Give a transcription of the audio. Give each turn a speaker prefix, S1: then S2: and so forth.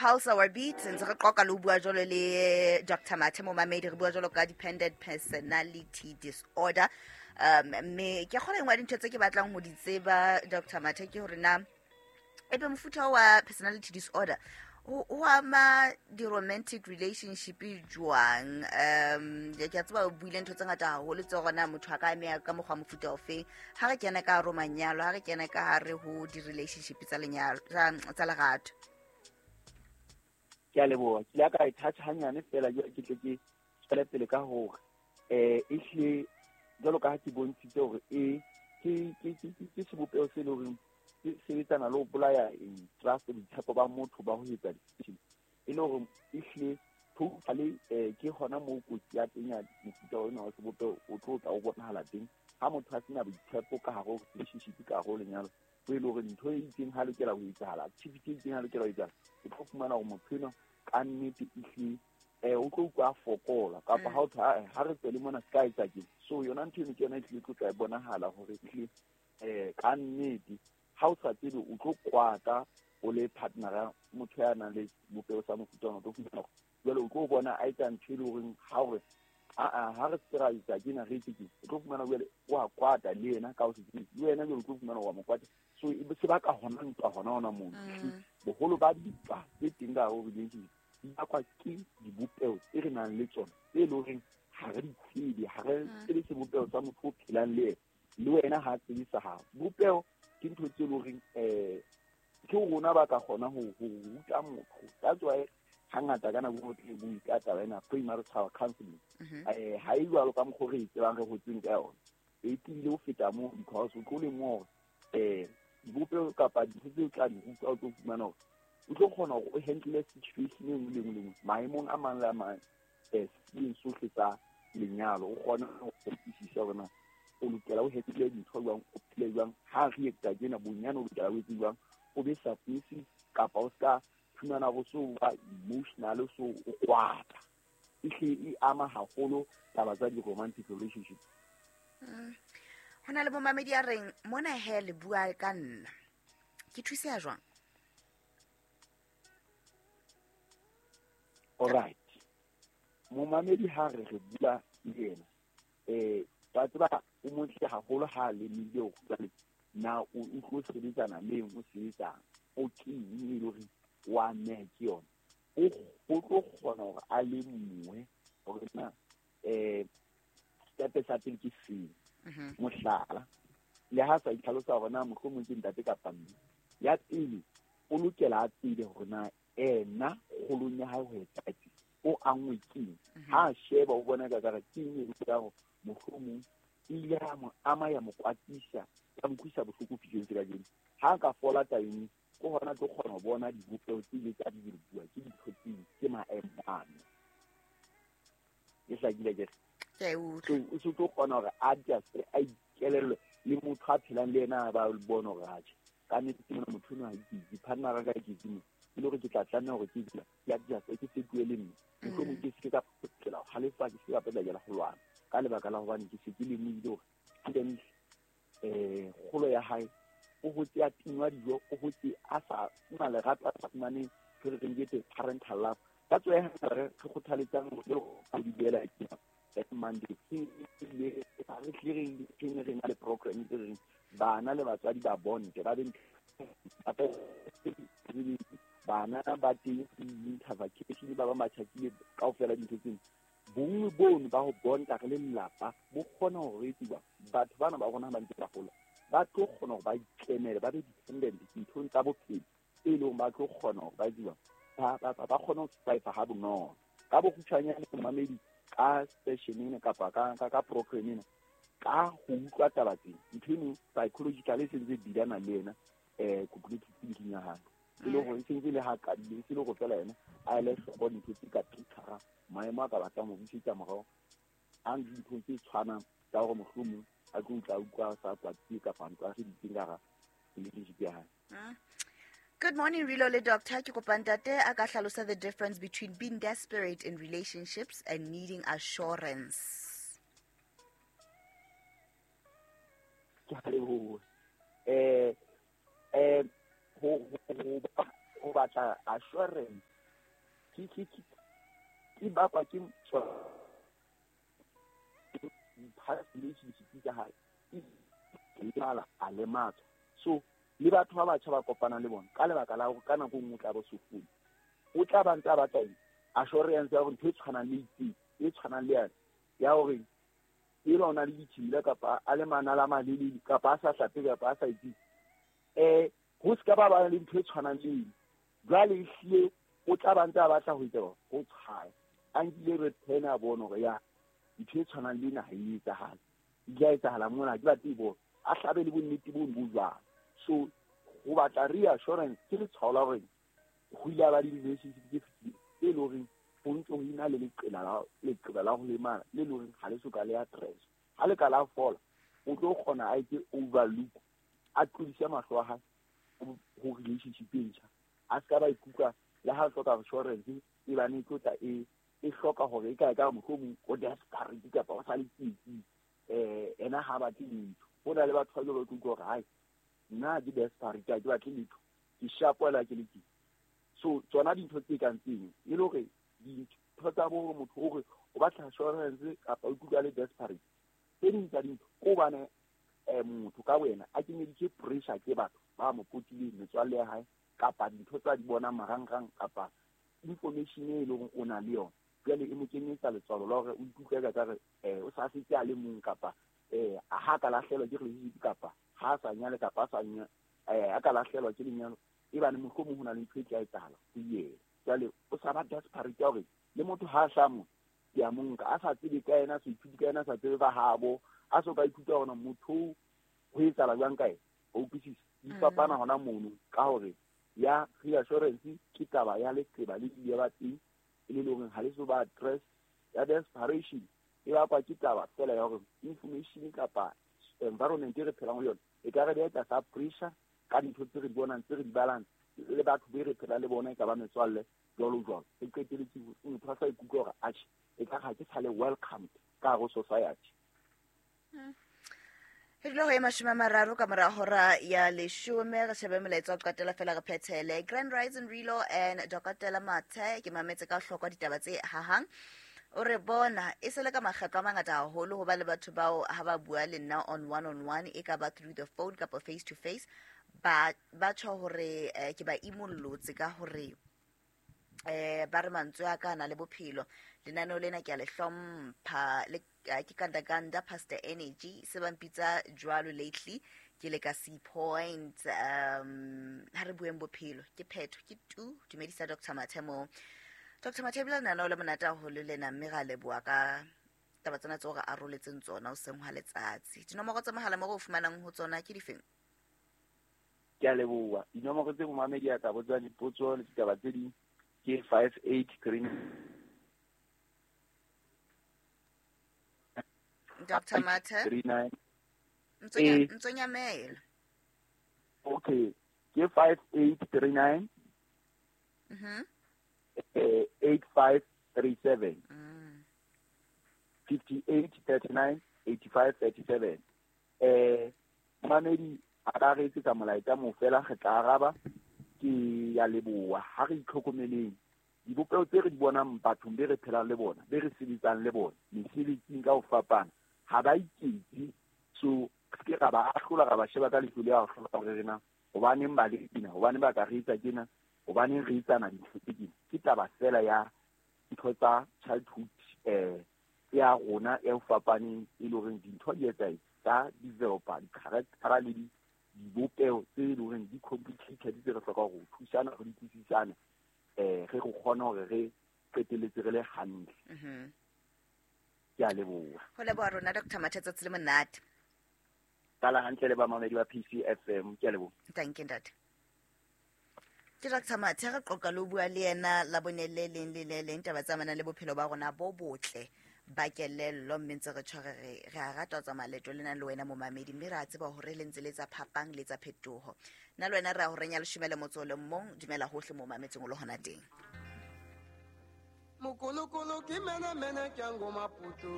S1: Pulse Our Beat. Ntse re qoqa le ho bua jwalo le Dr Mathe, momamedi. Re bua jwalo ka dependent personality disorder. Mme ke kgona engwe ya dintho tse ke batlang ho di tseba, Dr Mathe, ke hore na ebe mofuta wa personality disorder o ama di-romantic relationship jwang? Ke a tseba o buile ntho tse ngata haholo tse gona motho a ka ameha ka mokgwa mofuta ofeng ha re kena ka hare ho manyalo, ha re kena ka hare ho di-relationship tsa lenyalo, tsa lerato.
S2: Ke a leboha. Ke ile ka e touch hanyane fela, jwale ke tle ke tswele pele ka hore ehlile jwalo ka ha ke bontshitse hore e ke sebopeho se leng hore ke sebetsana le ho bolaya trust, boitshepo ba motho ba ho etsa decision, e le hore ehlile totally ke hona moo kotsi ya teng ya mofuta ona wa sebopeho o tlo tla o bonahala teng. Ha motho a sena boitshepo ka hare ho relationship, ka hare ho lenyalo, ho e le hore ntho e itseng ha lokela ho etsahala, activity e itseng ha lokela ho etsahala, o tlo fumana hore motho enwa ka nnete ehlile o tlo utlwa a fokola, kapa ha o thwe, ha re tswele mona se ka etsa ke so. Yona ntho eno ke yona e tlile tlo tla e bonahala hore ehlile ka nnete ha o sa tsebe o tlo kwata o le partnera motho ya nang le sebopeho sa mofuta ona. O tlo fumana hore jwale o tlo bona a etsa ntho e le horeng ha hore aa ha re se ra etsa kena re etse ke, o tlo fumana jwale o a kwata le yena ka ho se tsebe, le wena jwale o tlo fumana wa mo kwata. So e se baka hona ntwa hona hona moo. Boholo ba dintwa tse teng ka hare ho relationship di bakwa ke dibopeho tse re nang le tsona tse leng horeng ha re di tsebe, ha re tsebe sebopeho sa motho o phelang le yena, le wena ha tsebe sa hao. Bopeho ke ntho tse leng horeng ke rona ba ka kgona ho ruta motho. That's why hangata ka nako e nngwe bue ka taba ena premarital counseling. Ha e jwalo ka mokgwa o re e tsebang, re hotseng ka yona, e tiile ho feta moo, because o tlo lemoha hore dibopeho kapa dintho tse o tla di ruta, o tlo fumana hore o tlo kgona hore o handle situation e nngwe le nngwe le nngwe maemong a mang le a mang, seeng sohle tsa lenyalo. O kgone ho utlwisisa hore na o lokela o handle dintho jwang, o phele jwang ha re etsa tjena, bonyane o lokela o etse jwang, o be submissive kapa o ska fumana hore so ba emotional, so o kwata. Ehlile e ama haholo taba tsa di-romantic relationship.
S1: Ho na le momamedi a reng mona he le bua ka nna, ke thuseha jwang?
S2: Alright, momamedi, ha re re bua le yena, ba tseba o motle haholo ha lemile hore jwale na o tlo sebetsana le eng, o sebetsang o ke eng e le hore wa neha ke yona, o tlo kgona hore a lemohe hore na stepe sa pele ke seng. Mohlala, le ha sa itlhalosa hore na mohlomong ke ntate kapa mme, ya pele o lokela a tsebe hore na ena kgolong ya hae ho etsa o angwe keng. Ha a sheba o bona ka kare ke eng e ka hore mohlomong e ile ya mo ama, ya mo kwatisa, ya mo utlwisa bohloko fihleng se kajeno. Ha a ka fola tabeng, ke hona tlo kgona ho bona dibopeho tse ile tsa di bua ke dintho tse ke maemo ano e hlakile ke.
S1: Ke a e utlwa.
S2: So o se tlo kgona hore a adjust, a ikelellwe le motho a phelang le yena, ba bone hore atjhe, ka nnete ke mona motho enwa ha ke partner ka ke tsimo, e le hore ke tla tlameha hore ke ke adjust, ke fetohe le nna, mohlomong ke se ka potlakela ho halefa, ke se ka potlakela ho lwana, ka lebaka la hobane ke se ke lemohile hore hantle kgolo ya hae o hotse a tingwa dijo, o hotse a sa fumana lerato, a sa fumane ntho re reng ke parental love. Ka tswa ya re kgothaletsang hore di boela ke Monday re tle re re na le program tse reng bana le batswadi ba bonte ba be bana ba teng winter vacation, ba ba matjhakile kaofela. Dintho tseno, bonngwe bono ba ho bonta re le lelapa bo kgona ho re etsiwa batho bana ba rona ba ntse ba gola, ba tlo kgona hore ba ikemele, ba be dependent dinthong tsa bophelo, e leng ba tlo kgona hore ba etsiwa ba kgone ho survive ha bonolo. Ka bokgutshwanyane, momamedi, ka session ena kapa ka program ena, ka ho utlwa taba tsena, ntho eno psychological e sentse e bilana le yena cognitive thinking ya hae, e le hore e sentse le ha qadile, e se le hore fela yena a ele hloko dintho tse ka picture maemo a ka batlang ho busetsa morao a ntse dinthong tse tshwanang tsa hore mohlomong a tlo utla utlwa sa kwatile kapa ntlo a seditseng ka hara relationship ya hae.
S1: Good morning, Rilo le doctor. Ke kopa ntate a ka hlalosa the difference between being desperate in relationships and needing assurance.
S2: Ke a leboha. Ho ba ho batla assurance ke bakwa ke past relationship tsa hae, lemala a lematswa. So le batho ba batjha ba kopanang le bona ka lebaka la hore ka nako e nngwe o tla bo sofone, o tla ba ntse a batla eng? Assurance ya hore ntho e tshwanang le itseng, e tshwanang le yane ya hore eba o na le ditshila kapa a le manala a malelele kapa a sa hlape kapa a sa etseng, ho se ka ba ba le ntho e tshwanang le eng. Jwale ehlile o tla ba ntse a batla ho etsa ho tshwaya, a nkile red pen a bone hore ya ntho e tshwanang le ena ha e etsahale, e tla etsahala mona, ha ke batle e bona, a hlabe le bonnete bono bo jwalo. So ho batla reassurance ke letshwao la hore ho ile a ba le relationship tse fetileng tse leng horeng ho ntse ho ena le leqeba la ho lemala le leng horeng ha le soka le address. Ha le ka la fola, o tlo kgona a etse overlook, a tlodise mahlo a hae ho relationship e ntjha, a se ka ba ikutlwa le ha hloka assurance e bane e tlo tla e hloka hore e ka ka mohlomong o desperate kapa o sa le tsietsing, ena ha batle letho. Ho na le batho ba jwalo ba utlwa hore hai nna ke desperate, ha ke batle letho, ke shapo hela ke le teng. So tsona dintho tse kang tseno e le hore dintho tsa bo motho o re o batla assurance kapa o ikutlwa le desperate, tse ding tsa dintho ke hobane motho ka wena a kenyeditswe pressure ke batho ba mo potileng, metswalle ya hae kapa dintho tsa di bonang marangrang kapa information e leng hore o na le yona. Jwale e mo kenyetsa letswalo la hore o ikutlwa ka re o sa setse a le mong kapa ha ka lahlehelwa ke relationship kapa ha a sa nyale kapa a sa a ka lahlehelwa ke lenyalo, e bane mohlomong ho na le ntho e tla etsahala ho yena. Jwale o sa ba desperate ya hore le motho ha a hlaha mona ke a mo nka, a sa tsebe ka yena, a sa ithute ka yena, a sa tsebe ba habo, a so ka ithuta hore motho ho etsahala jwang ka yena. O utlwisisa? Di fapana hona mono ka hore ya reassurance ke taba ya leqeba le ile ba teng e le hore ha le so ba address. Ya desperation e bakwa ke taba fela ya hore information kapa environment e re phelang ho yona e ka re beha tlasa pressure ka dintho tse re di bonang, tse re di balang le batho be re phelang le bona, e ka ba metswalle jwalo jwalo. E qeteletse motho a sa ikutlwa hore atjhe e ka ha ke sa le welcomed ka hare ho society.
S1: Re dula ho e 30 ka mora hora ya 10, re shebe molaetsa wa qetela fela re phethele. Grand Rising Rilo and Dokotela Mathe, ke mametse ka hloko ditaba tse hahang. O re bona e se le ka makgetlo a mangata haholo ho ba le batho bao ha ba bua le nna on one on one, e ka ba through the phone kapa face to face, ba tjho hore ke ba imollotse ka hore ba re mantswe a ka na le bophelo. Lenaneo lena ke a le hlompha le ke kanda Pastor Energy se ba mpitsa jwalo lately, ke le ka C Point. Ha re bueng bophelo ke phetho ke tu. Dumedisa Dr. Mathe mo. Dr. Mathe ebile lenaneo le monate haholo lena, mme ra leboha ka taba tsena tseo re aroletseng tsona hoseng hwa letsatsi. Dinomoro tsa mohala mo re o fumanang ho tsona ke difeng?
S2: Ke a leboha. Dinomoro tse momamedi a ka botsang dipotso le ditaba tse ding ke 583.
S1: Dr. Mathe
S2: 39.
S1: Ntsonyamela.
S2: Okay, ke 5839. 8537. 5839 8537. Mamedi a ka re etsetsa molaetsa mo fela re tla araba. Ke ya leboha. Ha re itlhokomeleng dibopeho tse re di bonang bathong be re phelang le bona, be re sebetsang le bona mesebetsing ka ho fapana, ha ba iketse. So ke ra ba ahlola, ra ba sheba ka leihlo le ahlola hore re na hobaneng ba le tena, hobaneng ba ka re etsa tjena, hobaneng re etsana dintho tse tjena. Ke taba fela ya ntho tsa childhood ya rona e fapaneng, e le horeng dintho di etsahetse tsa developer di-character le dibopeho tse leng hore di complicated tse re hlokang ho thusana, re utlwisisane, re go kgone hore re qetelletse re le hantle. Ke a leboha.
S1: Ho leboha rona Dr. Mathe, tsatsi le monate.
S2: Qala hantle le bamamedi ba PCFM, ke a leboha.
S1: Thank you ntate. Ke Dr. Mathe re qoqa le ho bua le yena la bone le leng le le leng taba tsa amanang le bophelo ba rona bo botle ba kelello, mme ntse re tshware re a rata ho tsamaya leeto lena le wena momamedi, mme re a tseba hore le ntse le tsa phapang le tsa phetoho. Nna le wena re a ho renya 11. Dumela hohle mo mametseng o le hona teng.
S3: Mokolokolo ke mene mene ke a ngoma poto.